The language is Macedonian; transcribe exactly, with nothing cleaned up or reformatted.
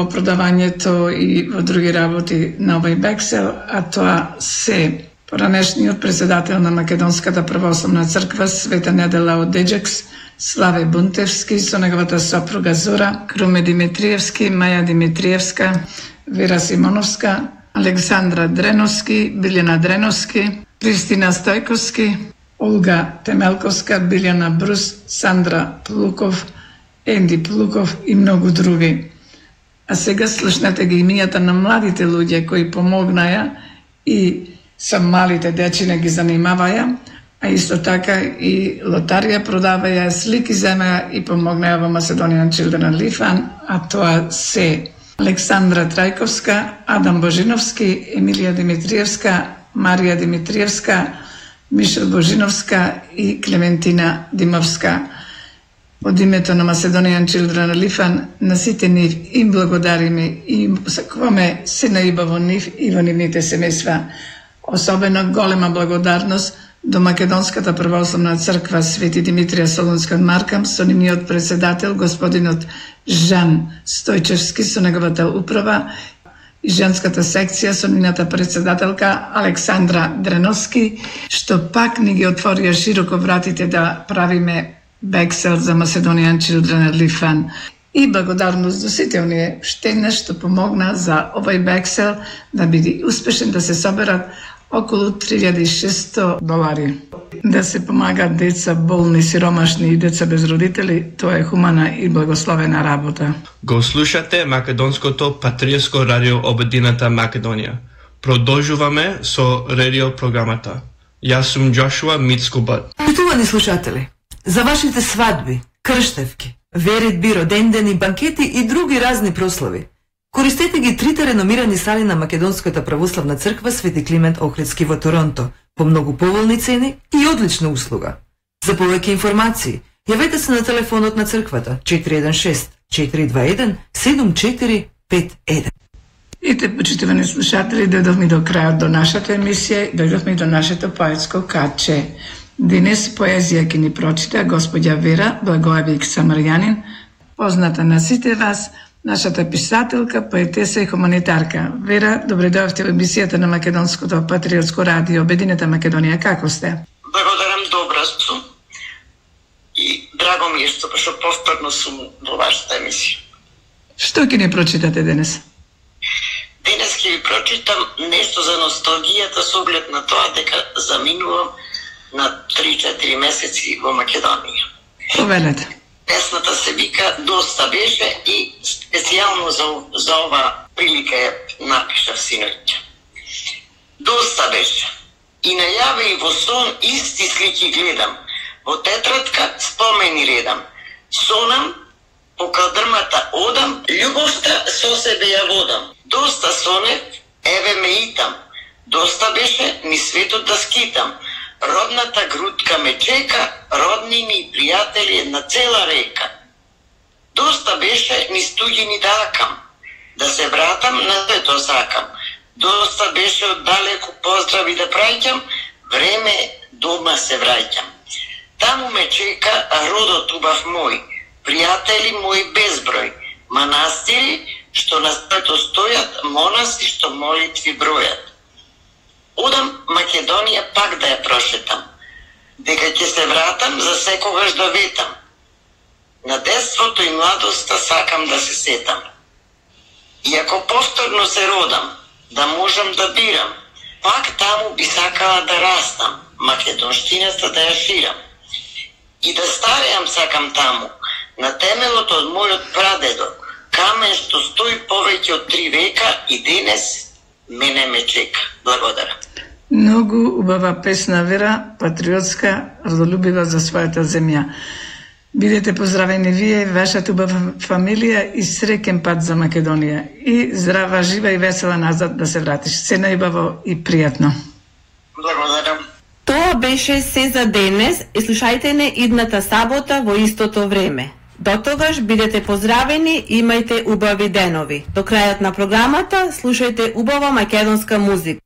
во продавањето и во други работи на овој Бексел, а тоа се поранешниот председател на Македонската православна црква Света Недела од Деџекс, Славе Бунтевски со неговата сопруга Зора, Круме Димитриевски, Маја Димитриевска, Вера Симоновска, Александра Дреновски, Билјана Дреновски, Кристина Стојковски, Олга Темелковска, Билјана Брус, Сандра Плуков, Енди Плуков и многу други. А сега слушнете ги имињата на младите луѓе кои помогнаја и со малите дечине ги занимаваја, а исто така и лотарија продаваја, слики земеа и помогнаја во Macedonian Children Live Fund, а тоа се Александра Трајковска, Адам Божиновски, Емилија Димитриевска, Марија Димитриевска, Мишел Божиновска и Клементина Димовска. Од името на Macedonian Children Live Fund на сите нив им благодариме и им посакуваме се наиба во нив и во нивните семејства. Особено голема благодарност до Македонската православна црква Свети Димитрија Солунска од Маркам со нивниот председател господинот Жан Стојчевски со неговата управа и женската секција со нивната председателка Александра Дреновски, што пак ни ги отворија широко вратите да правиме Бексел за Macedonian Children Live Fund. И благодарност до сите оние штедне што помогна за овој Бексел да биде успешен, да се соберат околу три илјади и шесто долари. Да се помагаат деца болни, сиромашни и деца без родители, тоа е хумана и благословена работа. Го слушате Македонското патриотско радио Обединета Македонија. Продолжуваме со радио програмата. Јас сум Джошуа Мицкубат. Почитувани слушатели, за вашите свадби, крштевки, веритби, родендени, банкети и други разни прослави, користете ги трите реномирани сали на Македонската православна црква Свети Климент Охридски во Торонто по многу поволни цени и одлична услуга. За повеќе информации, јавете се на телефонот на црквата четири еден шест четири два еден седум четири пет еден. И те, почитувани слушатели, дојдовме до крајот до нашата емисија, дојдовме до нашето поетско каче. Денес поезија ќе ни прочита господја Вера Благоевик Самарјанин, позната на сите вас, нашата писателка, поетеса и хуманитарка. Вера, добре дојавте во емисијата на Македонското патриотско радио Обединета Македонија. Како сте? Благодарам, добра сум. И драго ми е што што повторно сум во вашата емисија. Што ќе ни прочитате денес? Денес ќе ви прочитам нешто за носталгијата со оглед на тоа дека заминувам на три-четири месеци во Македонија. Повелете. Песната се вика "Доста беше" и специјално за, за ова прилика ја напишав синоќа. Доста беше. И најаве и во сон исти слики гледам. Во тетрадка спомени редам. Сонам, по кадрмата одам, љубовта со себе ја водам. Доста сонев, еве ме итам. Доста беше ни светот да скитам. Родната грудка ме чека, роднини и пријатели една цела река. Доста беше ни стуѓени дакам, да се вратам на сето сакам. Доста беше оддалеку поздрави да праќам, време дома се враќам. Таму ме чека родот убав мој, пријатели мои безброј, манастири што на свето стојат, монаси што молитви бројат. Одам Македонија пак да ја прошетам, дека ќе се вратам за секогаш да ветам. На детството и младоста сакам да се сетам. И ако повторно се родам, да можам да бирам, пак таму би сакала да растам, македонштината да ја ширам. И да стареам сакам таму, на темелот од мојот прадедо, камен што стои повеќе од три века и денес мене ме чека. Благодарам. Многу убава песна, Вера, патриотска, родолюбива за својата земја. Бидете поздравени вие и вашата убава фамилија и среќен пат за Македонија. И здрава, жива и весела назад да се вратиш. Се најубаво и пријатно. Благодарам. Тоа беше се за денес и слушајте не идната сабота во истото време. До тогаш бидете поздравени и имајте убави денови. До крајот на програмата слушајте убава македонска музика.